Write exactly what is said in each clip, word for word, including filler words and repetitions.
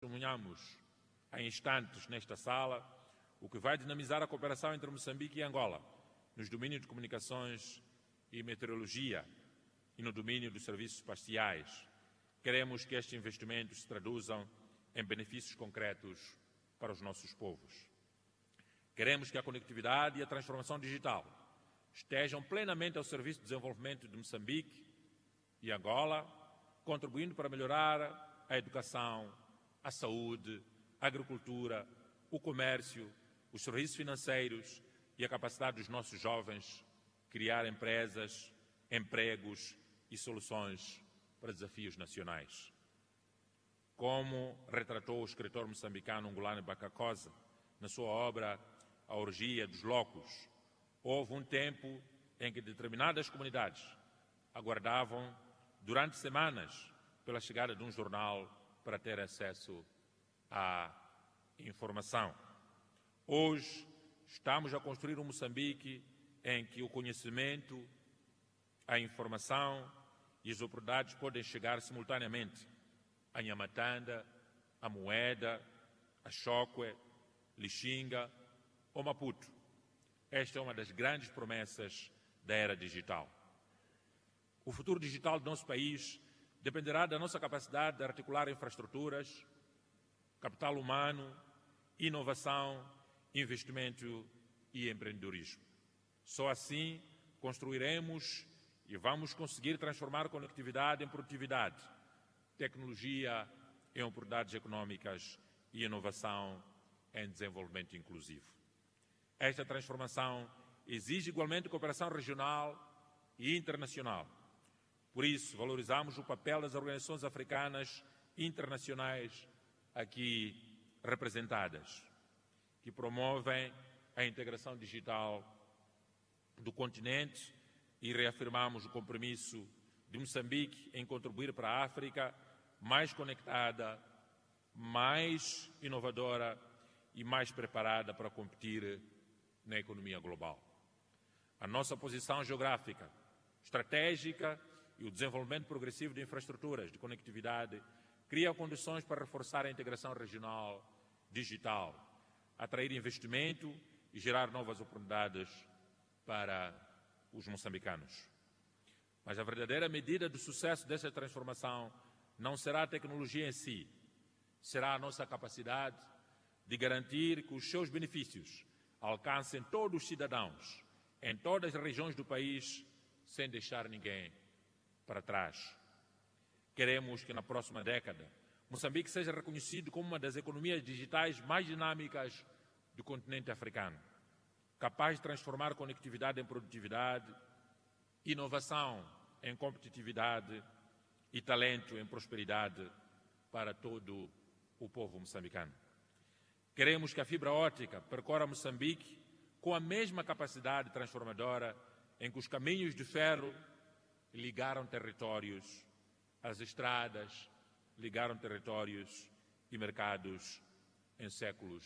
Testemunhamos há instantes nesta sala, o que vai dinamizar a cooperação entre Moçambique e Angola nos domínios de comunicações e meteorologia e no domínio dos serviços espaciais. Queremos que estes investimentos se traduzam em benefícios concretos para os nossos povos. Queremos que a conectividade e a transformação digital estejam plenamente ao serviço do desenvolvimento de Moçambique e Angola, contribuindo para melhorar a educação, a saúde, a agricultura, o comércio, os serviços financeiros e a capacidade dos nossos jovens criar empresas, empregos e soluções para desafios nacionais. Como retratou o escritor moçambicano Ngulane Bakakosa na sua obra A Orgia dos Loucos, houve um tempo em que determinadas comunidades aguardavam durante semanas pela chegada de um jornal para ter acesso à informação. Hoje estamos a construir um Moçambique em que o conhecimento, a informação e as oportunidades podem chegar simultaneamente a Nhamatanda, a Moeda, a Chókwè, Lichinga ou Maputo. Esta é uma das grandes promessas da era digital. O futuro digital do nosso país dependerá da nossa capacidade de articular infraestruturas, capital humano, inovação, investimento e empreendedorismo. Só assim construiremos e vamos conseguir transformar conectividade em produtividade, tecnologia em oportunidades econômicas e inovação em desenvolvimento inclusivo. Esta transformação exige igualmente cooperação regional e internacional. Por isso, valorizamos o papel das organizações africanas internacionais aqui representadas, que promovem a integração digital do continente, e reafirmamos o compromisso de Moçambique em contribuir para a África mais conectada, mais inovadora e mais preparada para competir na economia global. A nossa posição geográfica, estratégica e o desenvolvimento progressivo de infraestruturas de conectividade criam condições para reforçar a integração regional digital, atrair investimento e gerar novas oportunidades para os moçambicanos. Mas a verdadeira medida do sucesso dessa transformação não será a tecnologia em si, será a nossa capacidade de garantir que os seus benefícios alcancem todos os cidadãos, em todas as regiões do país, sem deixar ninguém para trás. Queremos que na próxima década Moçambique seja reconhecido como uma das economias digitais mais dinâmicas do continente africano, capaz de transformar conectividade em produtividade, inovação em competitividade e talento em prosperidade para todo o povo moçambicano. Queremos que a fibra ótica percorra Moçambique com a mesma capacidade transformadora em que os caminhos de ferro ligaram territórios, as estradas ligaram territórios e mercados em séculos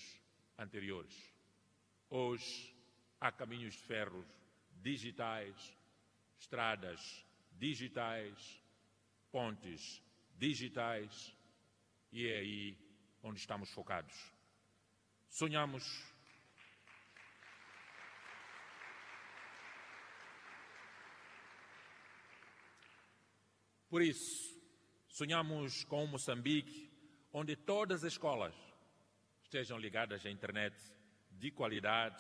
anteriores. Hoje há caminhos de ferro digitais, estradas digitais, pontes digitais, e é aí onde estamos focados. Sonhamos Por isso, sonhamos com um Moçambique onde todas as escolas estejam ligadas à internet de qualidade,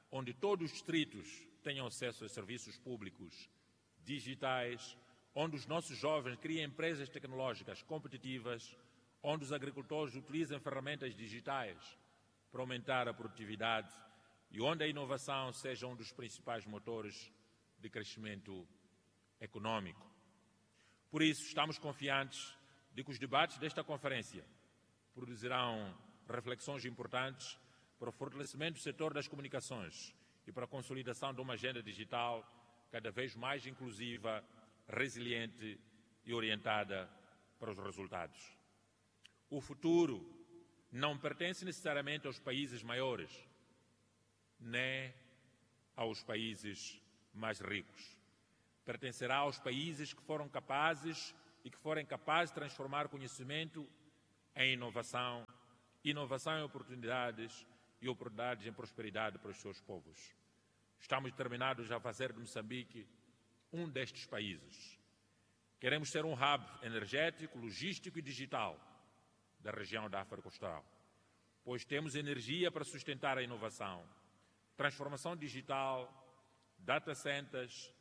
onde todos os distritos tenham acesso a serviços públicos digitais, onde os nossos jovens criem empresas tecnológicas competitivas, onde os agricultores utilizem ferramentas digitais para aumentar a produtividade e onde a inovação seja um dos principais motores de crescimento econômico. Por isso, estamos confiantes de que os debates desta conferência produzirão reflexões importantes para o fortalecimento do setor das comunicações e para a consolidação de uma agenda digital cada vez mais inclusiva, resiliente e orientada para os resultados. O futuro não pertence necessariamente aos países maiores, nem aos países mais ricos. Pertencerá aos países que foram capazes e que forem capazes de transformar conhecimento em inovação, inovação em oportunidades e oportunidades em prosperidade para os seus povos. Estamos determinados a fazer de Moçambique um destes países. Queremos ser um hub energético, logístico e digital da região da África Austral, pois temos energia para sustentar a inovação, transformação digital, data centers,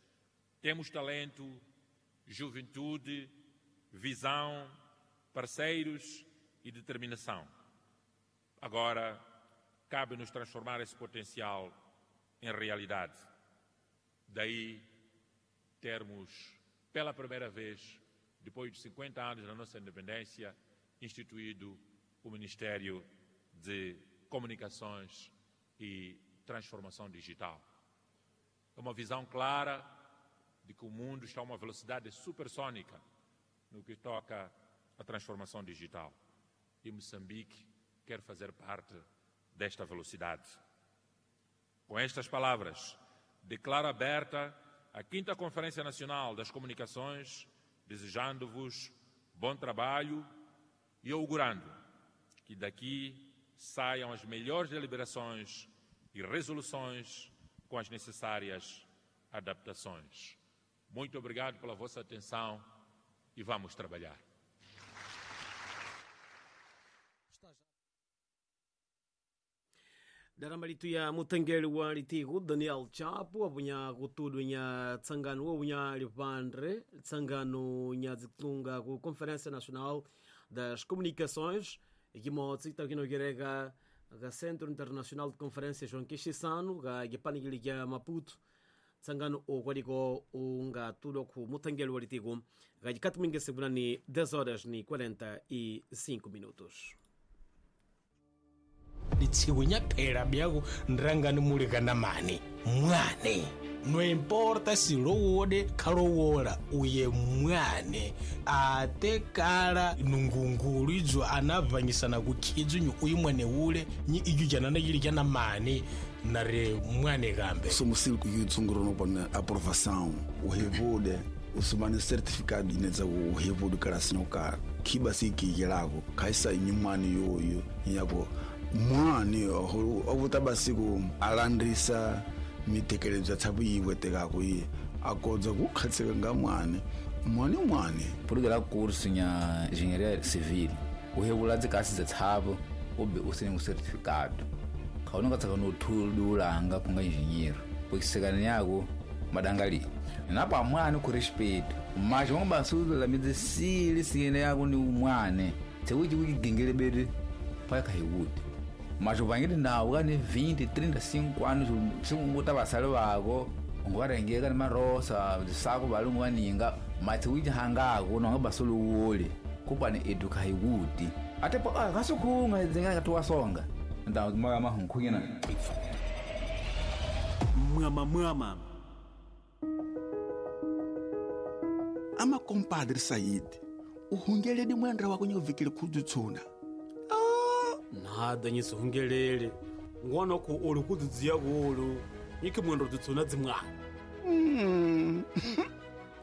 temos talento, juventude, visão, parceiros e determinação. Agora, cabe-nos transformar esse potencial em realidade. Daí, termos, pela primeira vez, depois de cinquenta anos da nossa independência, instituído o Ministério de Comunicações e Transformação Digital. É uma visão clara de que o mundo está a uma velocidade supersônica no que toca à transformação digital. E Moçambique quer fazer parte desta velocidade. Com estas palavras, declaro aberta a quinta Conferência Nacional das Comunicações, desejando-vos bom trabalho e augurando que daqui saiam as melhores deliberações e resoluções com as necessárias adaptações. Muito obrigado pela vossa atenção e vamos trabalhar. Daramalitu ya mutengeli wa litiku Daniel Chapo abunya kutudu nya tsangano abunya lipandre tsangano nya zitunga ku Conferência Nacional das Comunicações ikimotsi takinogereka ga Centro Internacional de Conferências João Quixissano ga gipanigili ya Maputo tsangano okwaliko unga tudo ku mutengeli wa litiku ga jikatuminge segurani dez horas ni quarenta e cinco minutos. Litsikunya phela byaku nrangani mulikana mani mwane no importa si lowode khalowola uye mwane ate kala nungungulu idzo anavanyisana kukhidzu uyu mwane ule nyi iju janana yili jana mani nare mwane kambe somusil ku yutsunguro no pona aprovação o revude usumane certificado inetsa o revude kala sinoka khiba sikiyelako khaisa inyumani yoyo yako mwane ovutabasiku alandrisa mitekelezo ya thabu iwetekako iye akodza kukhatseka nga mwane mwane mwane purugela curso nya engenharia civil uhevula dzikasi dza thabu ube usine um certificado khawunonga tsaka no thululanga kunga engineer pokisekana yako madangali napa mwane ku respeito mas vamos basula la medicina sine yako ni mwane tsewuji wigengele bede paka hiwuti mas uvangiri nawo kane vinte, trinta e cinco anos singuta basale bako ngwarengeka ni marosa sako balungu baninga mati wijihangako nonga basuluwole kupane eduka hiwuti atepo kasukunga zinga tuwasonga ndawo maka mahunkhuyena mwama mwama ama compadre Said uhungeledi mwendra wako nyovikile khudzitsuna nada nyisuhungelele ngwana ku uli kudzidziya kuulu nyiki mwendo dzitsuna dzimwana mm.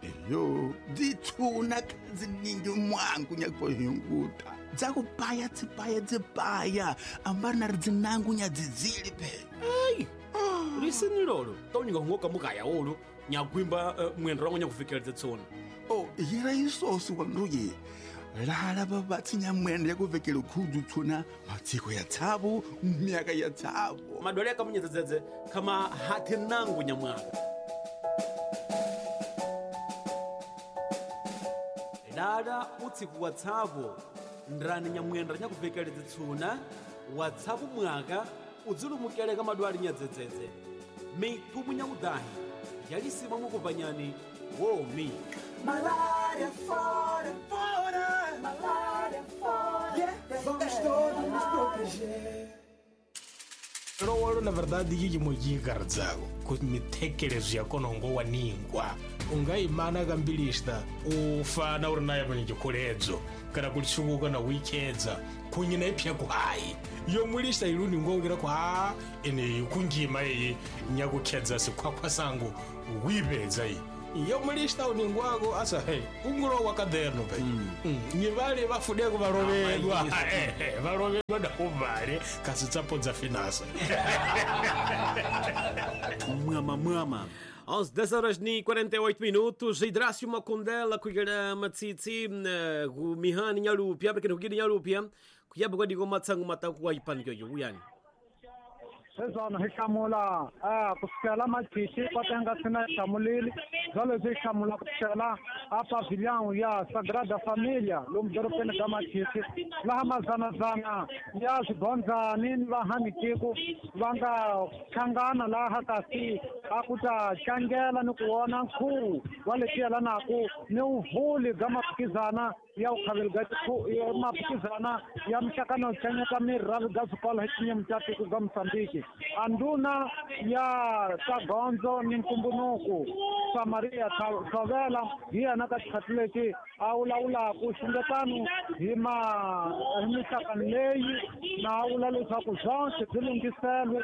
Eyo dzitsuna kadziningi mwangu nyakuhinguta dzakupaya dzipaya dzipaya ambari nari dzinangu nyadzidzili pe ai oh. Lisini lolo taunyinga hungoka mukaya ulu nyagwimba uh, mwendo wangu nyakuvikela dzitsuna oh yera isosi wanduye lala babatsinya mwendo yakuvekela khudzutsuna matsiko ya tsabu myaka ya tsabu madwale akamunyedzedzedze kama hati nangu nyamwaka lala utsiku wa tsabu ndrani nyamwendo nyakuvekela dzitsuna wa tsabu mwaka udzilumukele ka madwale nyadzedzedze mithumu nyakudahi yalisima mukupanyani womi Malária fora, fora, malária fora. Yeah, vamos todos nos proteger. Lowolo na verdade yiji mojikardzako ku mithekelezo ya kona ngo waningwa ungayimana kambilista ufana uri naye pene chikholedzo kana kulitsukuka na wichedza kunyina ipya ku hayi yomwilista iluni ngongera ku ha ene kunjima iyi nyakukhedza sikhwakhwa sangu wipedza iyi Yo mulista uningwako asa he ungulo wa caderno pe mm. Ni vale vafudeko valovedwa valovedwa da uvale kasi tsapo dza finasa. Mwama mwama. onze dez horas e quarenta e oito minutos. Hidrácio Makondela kuyera matsitsi ku mihani nyalupya porque nukiri nyalupya kuyaba kwa digo matsangu mataku wa ipanikyo yuyani. Sezona hixamula a kusukela Machichi kwatenga sina hlamulile bya leswi hlamula kusukela a pavilhão ya Sagrada Família lomu dorobeni ka Machichi laha mazanazana ya swigondzani ni vahanitiko va nga hlangana laha kasi a ku ta tlangela ni ku vona nkhuvo wa leswi yelanaka ni vuvuli bya maphikizana ya vukhaveli bya maphikizana ya mixakano yo tlanyeta mirhi bya swikolo hi tindzimi ta tiko bya Mozambique. A ndhuna ya ta gondzo ni ntumbunuku Samaria Thovela hi yena ka xikhathi lexi a vulavulaku xungetano hi ma hi mixakano leyi na a vula leswaku swonke byi lunghiselwe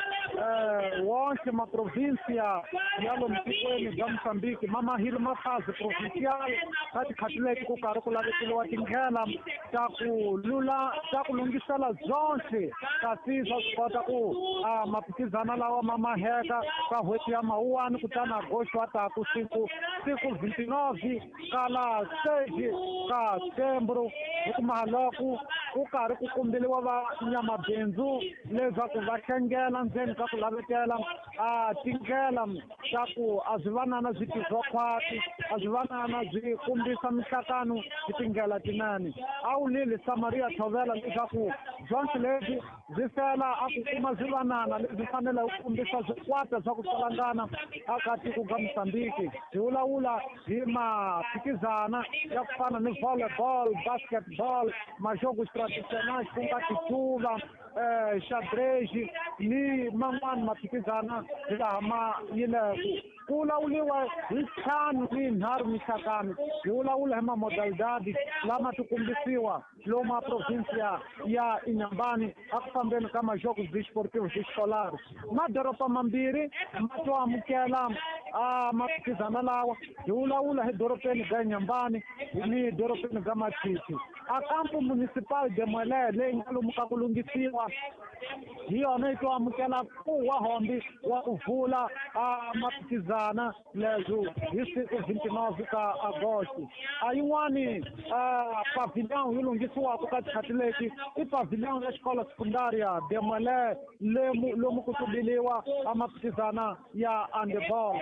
wonke maprovinsia ya lomu tikweni bya Mozambique ma mahile mafazi provincial ka tikhathi leti ku karhi ku lavekeliwa tindlela ta ku lula ta ku lunghisela byonke kasi swa swi kota ku a maphikizana lawa ma maheka ka n'hweti ya Mawuwani kutani agosto wa taku siku siku vinte e nove ka la seis ka setembro hi ku mahaloko ku karhi ku kombeliwa vanyamabindzu leswaku va hlengela ndzeni ka ku lavetela a tindlela ta ku a swi vanana swi tivwa khwati a swi vanana byi kombisa mihlakano hi tindlela tinene. A wulile Samaria Thovela leswaku byonke lebyi byi fela a ku kuma swivanana leswi faneleke ku kombisa swikwata swa ku tsalangana aka tiko ka Mozambique. Hi vulavula hi maphikizana ya ku fana ni volleyball, basketball, majogos tradicionais ku nga titsuva, eh, xadrez ni man'wani maphikizana hilaha ma yileku. Ku vulavuriwa hi ntlhanu ni nharhu mixakano, hi vulavula hi mamodalidadi lama ti kombisiwa lomu a provinsia ya Inhambane a ku fambeni ka majogos desportivos escolares. Madoroba mambirhi ma to amukela a maphikizana lawa, hi vulavula hi dorobeni ga Inhambane ni dorobeni ga Machichi. A campo municipal de Muelé leyi nga lomu ka ku lunghisiwa hi yona yi to amukela ku wa hombi wa ku vula a maphikizana leswo hi siku vinte e nove ka agosto. A yin'wani pavilhão yi lunghisiwaka ka tikhathi leti i pavilhão ya xikolo sekundária de Muelé lemu lomu ku tubiliwa a maphikizana ya handeball.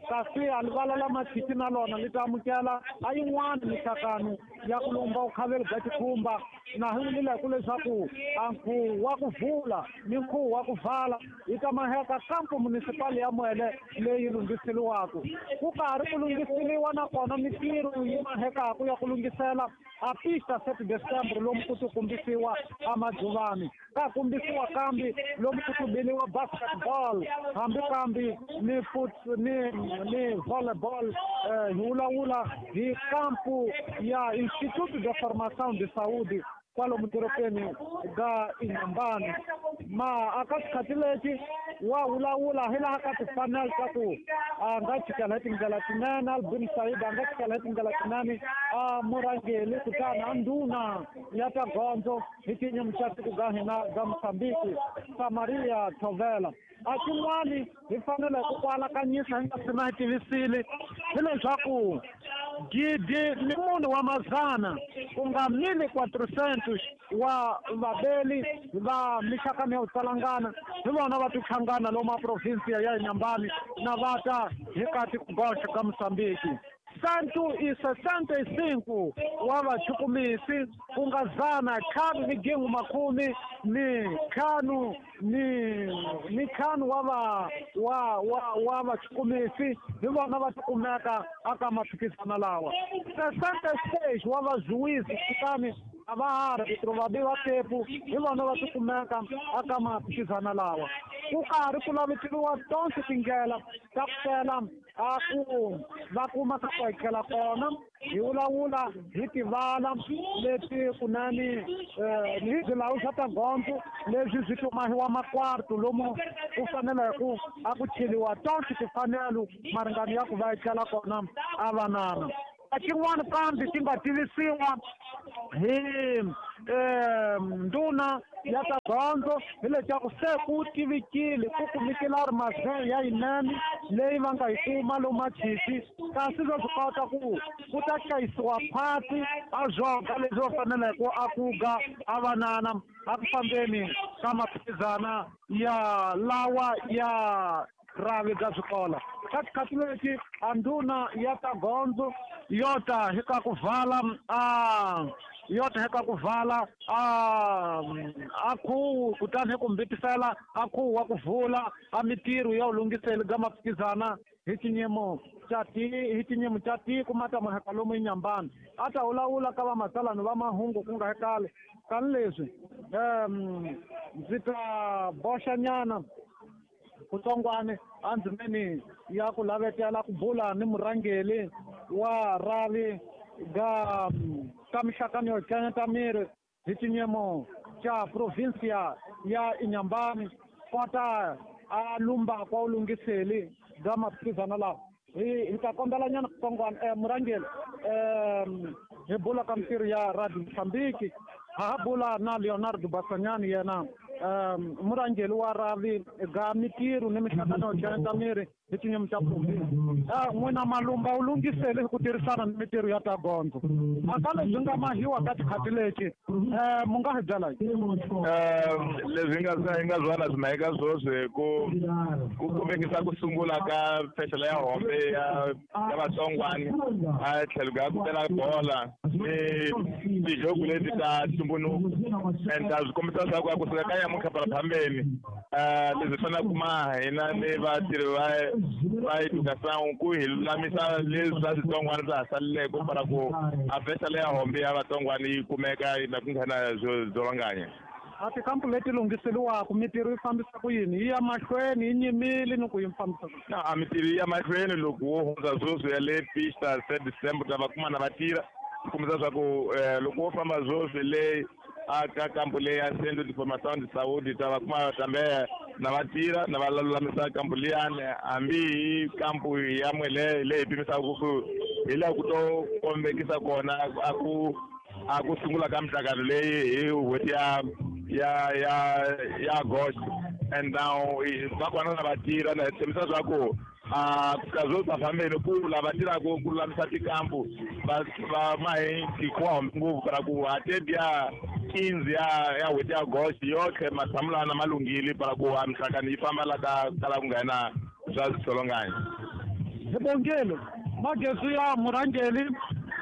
Kasi a livala la Machichi na lona li ta amukela a yin'wani mixakano ya ku lumba vukhaveli bya tikhumba na hi vulile ku leswaku a nkhuvo wa ku vula ni nkhuvo wa ku vala yi ta maheka campo municipal ya Muelé leyi lunghiseliwaka. Ku karhi ku lunghiseliwa nakona mitirho yi mahekaku ya ku lunghisela a pista sete de setembro lomu ku tikombisiwa a madzuvani ka kombisiwa kambi lomu ku tubiliwa basketball hambi kambi ni foot ni ni volleyball. Eh, hi vulavula hi campo ya Instituto de Formação de Saúde kwalomu dorobeni ga Inhambane. Ma aka xikhathi lexi wa vulavula hi laha ka tifanele ta ku a nga chikela hi tindlela tinene Albin Said a nga chikela hi tindlela tinene a murhangeli kutani a ndhuna ya ta gondzo hi tinyimu ta tiko ga hina ga Mozambique Samaria Thovela. A xin'wani hi fanele ku kwalakanyisa hi nga si na hi tivisile hileswaku gidi ni munhu wa mazana ku nga mil quatrocentos wa vabeli va mixakano ya ku tsalangana hi vona va tihlangana lomu a provinsia ya Inhambane na va ta hi ka tikogoxa ka Mozambique. Cento e sessenta e cinco wa vachukumisi ku nga zana ntlhanu ni gingu makumi ni ntlhanu ni ni ntlhanu wa va wa wa wa vachukumisi hi vona va tikumeka aka maphikizana lawa. Sessenta e seis wa vazuwisi kutani A va ha ri vabi va tepu hi vona va tikumeka aka maphikizana lawa. Ku karhi ku laveteliwa tonse tindlela ta ku tela a ku va kuma ka ku hakela kona hi vulavula hi tivala leti kunani ni hi swilawu swa ta gondzo leswi swi tumahiwa makwartu lomu ku fanele ku a ku cheliwa tonse timfanelo maringano ya ku va etlela kona a vanana. Xin'wana kambe xi nga tivisiwa hi ndhuna ya ta gondzo hi leswaku se ku tivikile ku kumekile ri mazeng ya yinene leyi va nga yi kuma lomu Machisi, kasi swa swi kota ku ku ta hlayisiwa phati a zwoga leswi va faneleke a ku ga a vanana a ku fambeni ka maphikizana ya lawa ya ravi bya swikola. Ka tikhathi leti a ndhuna ya ta gondzo yo ta hi ka ku vala a yo ta hi ka ku vala a a khuwu kutani hi ku mbitisela a khuwu wa ku vula a mitirho ya ulungiseli ga maphikizana hi xinyimo xa ti hi xinyimo xa tiko ma ta maheka lomu Inhambane. A ta vulavula ka vamatsalani va mahungu ku nga hekale kani leswi um ndzi ta boxa nyana kutsongwane andzimeni ya ku lavetela ku bula ni murhangeli wa ravi ga ka mixakano yo canyeta miri hi xinyimo xa provinsia ya Inhambane kota a lumba kwa ulungiseli bya maphikizana lawa. Hi hi ta kombela nyana kutsongwana um murhangeli um hi bula ka mitirho ya Radio Mozambique ha ha bula na Leonardo Basanyani yena um murhangeli wa ravi ga mitirho ni mixakano yo canyeta miri hi xinyimo xa provinsi. N'wina malumba wu lunghisele ku tirhisana ni mitirho ya ta gondzo mhaka lebyi nga mahiwa ka tikhathi leti um mu nga hi byela um leswi nga hi nga byala swi maheka swoswi ku ku kumekisa ku sungula ka fexela ya hombe ya ya vatsongwani a tlhelo ka ku tela bola ni tijoku leti ta ntumbuluko and swi kombisa leswaku a kusuka ka nyamuntlha phambeni um leswi faneleke kuma hina ni vatirhi va va education ku hi lulamisa leswi swa switsongwana swa ha saleleke para ku a fexela ya hombe ya vatsongwana yi kumeka na ku nghena dzolonganya. A tikampu leti lunghiseliwaka mitirho yi fambisa ku yini yi ya mahlweni yi nyimile ni ku yi fambisa ku na a mitirho yi ya mahlweni loko wo hundza sweswi ya le pista se December ta va kuma na va tirha kombisa swa ku loko wo famba sweswi le a ka kampu leyi ya Centro de Formação de Saúde ta va kuma tambe na va tirha na va lulamisa kampu liyani hambi hi kampu ya mwele leyi pimisaka ku hi laha ku to kombekisa kona a ku a ku sungula ka mihlangano leyi hi n'hweti ya ya ya ya August and now va kona na va tirha na hi tshembisa swa ku a ka zwo sa fambeni ku lava tirhaka ku lulamisa tikampu va va mahi tikuwa ngopfu para ku ate ya quinze ya ya n'hweti ya August yotlhe matshamulana ma lunghile para ku a mihlangano yi famba la ka kala ku nghena swa switsolonganya. Hi bongelo magezi ya murhangeli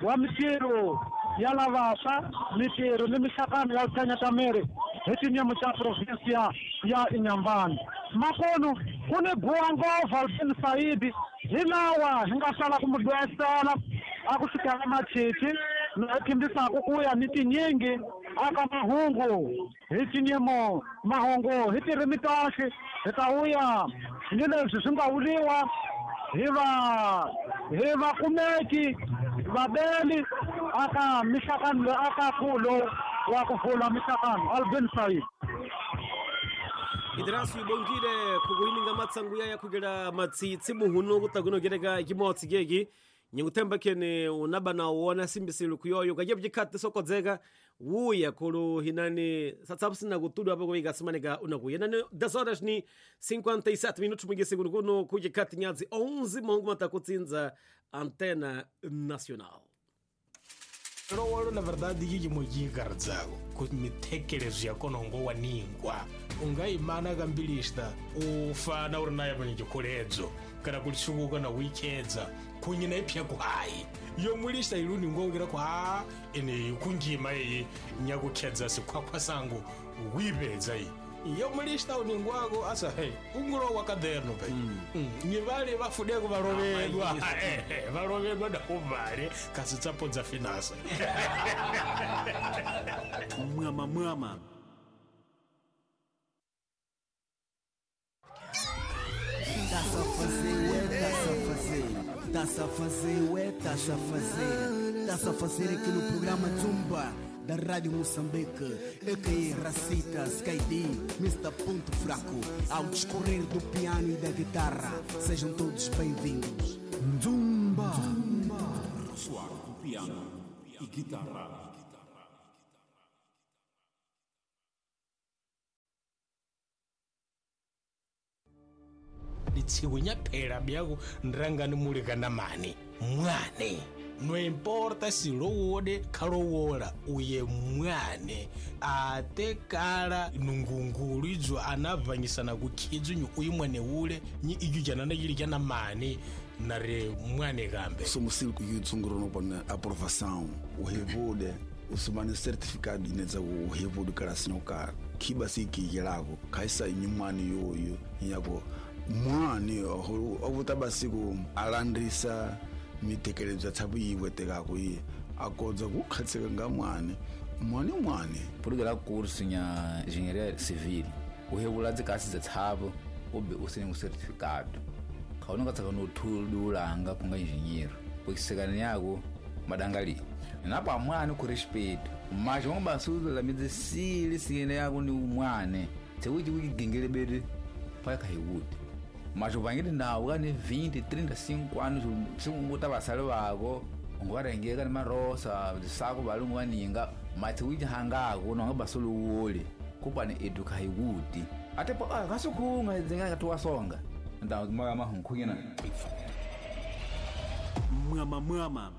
wa mitirho ya lavaswa mitirho ni mixakano ya ku miri hi xinyimo xa provinsia ya Inhambane. Makonu ku ni guwa ngopfu Albin Saidi hi lawa hi nga sala ku mu lwesela a ku fikela Machisi na hi khimbisaka ku ya ni tinyingi aka mahungu hi xinyimo mahungu hi tirimi toxe hi ta vuya ni leswi swi nga vuliwa hi va hi vakumeki vabeli aka mixakano aka khulo wa ku vula mixakano Albin Saidi. Idrasu ibongile kuguhininga matsangu ya kugera matsitsi muhuno kutakunogereka kimotsi gegi nyikuthemba kene unaba na uona simbisilu kuyoyo kajebjikati sokodzeka wuya kulu hinani satsapsina kutudu apo kuiga simanika unakuya nani dez horas ni cinquenta e sete minutos mwingi segundo kuno kujikati nyazi onze mongu matakutsinza Antena Nacional. Lowolo na verdade yiki moyikardzako ku mithekelezo ya kona ngo waningwa ungayimana kambilista ufana uri naye panye chikholedzo kana kulisukuka na wichedza kunyina ipya ku hayi yomulista iluni ngongera ku ha ene kungima iyi nyakukhedza sikhwakhwa sangu wipedza iyi Yo mulista uningwako asa he ungulo wa caderno pe. Ni vale vafudeko valovedwa. Valovedwa da kuvale kasi tsapodza finance. Mwama mwama. Tá-se a fazer, ué, tá-se a fazer. Tá-se a fazer, ué, tá-se a fazer. Tá-se a fazer aqui no programa Zumba da Rádio Moçambique, A K A Racita, Sky D, mister Ponto Fraco, ao discorrer do piano e da guitarra. Sejam todos bem-vindos. Zumba! Zumba! Soar do piano e guitarra. Litsiwinya phela byaku nrangani mulekana mani mwane. No importa si lowode khalowola uye mwane ate kala nungungulu idzo anavanyisana kukhidzu nyu uyu mwane ule nyi iju janana yili jana mani nare mwane kambe. Somos yutsunguro no pona aprovação o revude usumane certificado inetsa o revude kala sinokara khiba sikiyelako khaisa inyumani yoyo yako mwane ovutabasiku alandrisa mitekelezo tsabu iwe tekako iye akodza kukhatseka nga mwane mwane mwane pulukela kursu nya engenharia civil uhevula dzikasi dza tshapo ube usine um certificado khaona ka tsaka no thululanga kunga engineer pokisekana yako madangali napa mwane ku respeito mas vamos basula la medicina sine yako ni mwane tsewuti wigengele bede pa kahiwuti mas o vangeli nawo kane vinte, trinta e cinco anos singuta vasale vako ungavarengeka ni marosa sako valungu vaninga mati wihangako nonga basuluwoli kupane eduka hiwuti ate po kasukhunga dzinga katiwasonga nda moya mahunkhuyena Mwama mwama.